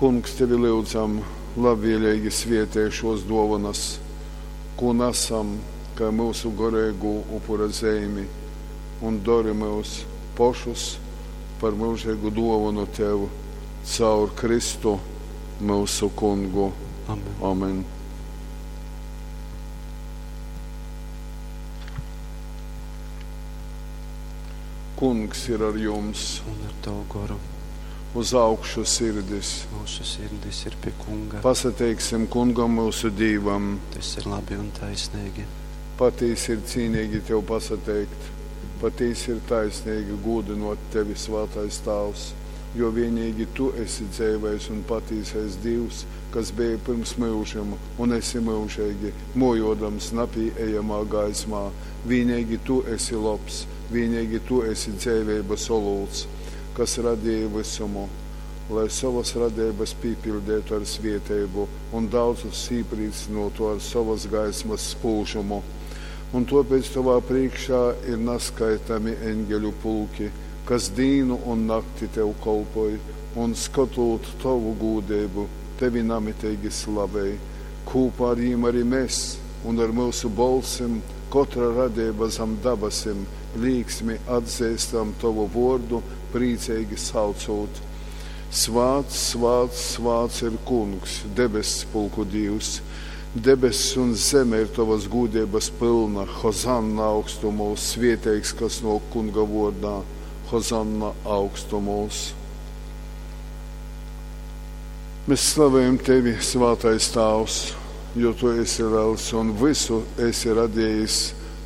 Kungs, tevi lyudzam, labvieleigi svietej šuos duovonys, kū nasam kai myusu goreigū upura zeimi, un dori myus pošus par myužeigu duovonu tev caur Kristu, myusu Kungu. Amen. Amen. Kungs ir ar jums. Un ar tavu goru. Uz augšu sirdis. Mūsu sirdis ir pie Kunga. Pasateiksim Kungam myusu Dīvam. Tas ir labi un taisnīgi. Patīsi ir cīnīgi tev pasateikt, patīsi ir taisnīgi gūdinot tevi, Svātais Tāvs, jo vienīgi tu esi dzeivais un patīsais Dīvs, kas beji pyrms myužim un esi myužeigi, mojodams napīejamā gaismā. Vīneigi tu esi lobs, vīneigi tu esi dzeiveibas olūts, kas radēji vysumu, lai sovas radeibas pīpiļdeitu ar svieteibu un daudzus īprīcynōtu ar sovas gaismas spūžumu. Un tōpēc tovā prīškā ir naskaitami eņgeļu pulki, kas dīnu un nakti tev kolpoj un, skotūt tovu gūdeibu, tevi namiteigi slavej. Kūpā ar jim ari mes un ar myusu bolsim kotra radeiba zam dabasim līksmi atzeistam tovu vōrdu, prīceigi saucūt, Svāts, svāts, svāts ir Kungs, debesspulku Dīvs! Debess un zeme ir tovas gūdeibas pylna. Hozanna augstumūs, svieteigs, kas nōk Kunga vōrdā. Hozanna augstumūs. Mes slavējam tevi, Svātais Tāvs, jo tu esi lels un vysu esi radējis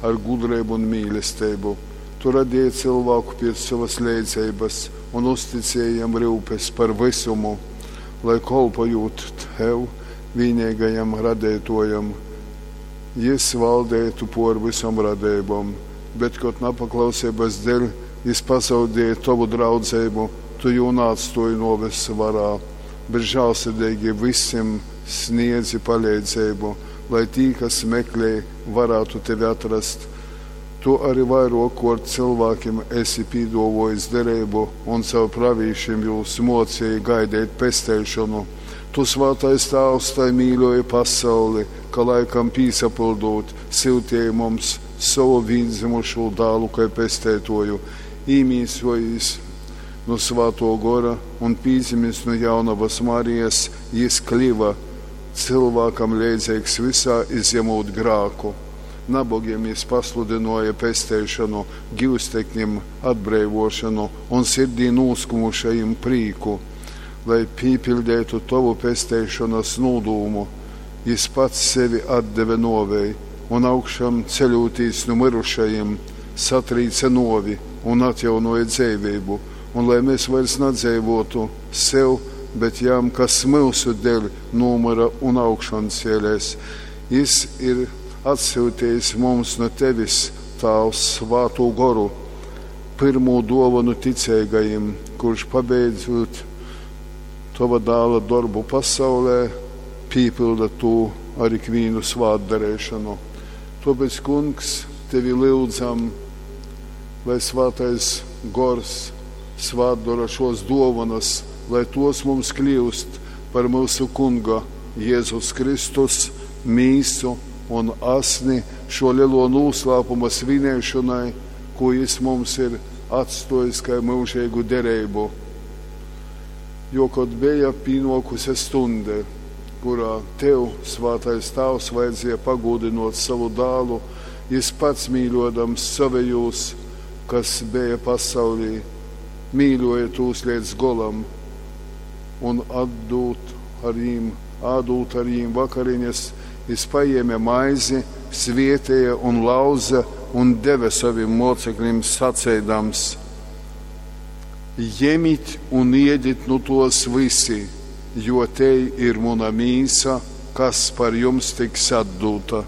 ar gudreibu un mīlesteibu. Tu radēji cylvāku piec sovas leidzeibas un uzticēji jam ryupes par vysumu, lai kolpojūt tev, vīneigajam Radeituojam, jys valdeitu puor vysom radeibom. Bet, kod napaklauseibas deļ jys pazaudēja tovu draudzeibu, tu jū naatstuoji nuoves varā, bet žālsirdeigi vysim sniedzi paleidzeibu, lai tī, kas meklej, varātu tevi atrast. Tu ari vairuokkuort cylvākim esi pīduovuojis dereibu un caur pravīšim jūs muocieji gaideit pesteišonu. Tu, Svātais Tāvs, tai mīļuoji pasauli, ka, laikam pīsapyldūt, syutieji mums sovu vīndzymušū Dālu kai Pesteituoju. Īmīsuojīs nu Svātuo Gora un pīdzimis nu Jaunovas Marijas, jys kliva cylvākam leidzeigs vysā, izjamūt grāku. Nabogim jys pasludynuoja pesteišonu, gyusteknim atbreivuošonu un sirdī nūskumušajim prīku. Lai pīpiļdeitu tovu pesteišonas nūdūmu, jys pats sevi atdeve nuovei un, augšam ceļūtīs nu myrušajim, satrīce nuovi un atjaunuoja dzeiveibu. Un lai mes vairs nadzeivuotu sev, bet jam, kas myusu deļ nūmyra un augšancielēs, jys ir atsyutejis mums nu tevis, Tāvs, Svātū Goru, pyrmū duovonu ticeigajim, kurš, pabeidzūt tova Dāla dorbu pasaulē, pīpylda tū ar ikvīnu svātdareišonu. Tuopēc, Kungs, tevi lyudzam, lai Svātais Gors svātdora šuos duovonas, lai tuos mums kliust par myusu Kunga Jezus Kristus mīsu un asni šuo leluo nūslāpuma svineišonai, kū jys mums ir atstuojis kai myužeigu dereibu. Jo kod beja pīnuokuse stunde, kurā tev, Svātais Tāvs, vajadzēja pagūdynuot sovu Dālu, jys pats mīļuodams sovejūs, kas beja pasaulī, mīļuoja tūs leidz golam un atdūt ar jim, ādūt ar jim vakariņas, jys pajēme maizi, svieteja un lauze un deve sovim muoceklim saceidams, Jemit un iedit nu tuos vysi, jo tei ir muna mīsa, kas par jums tiks atdūta.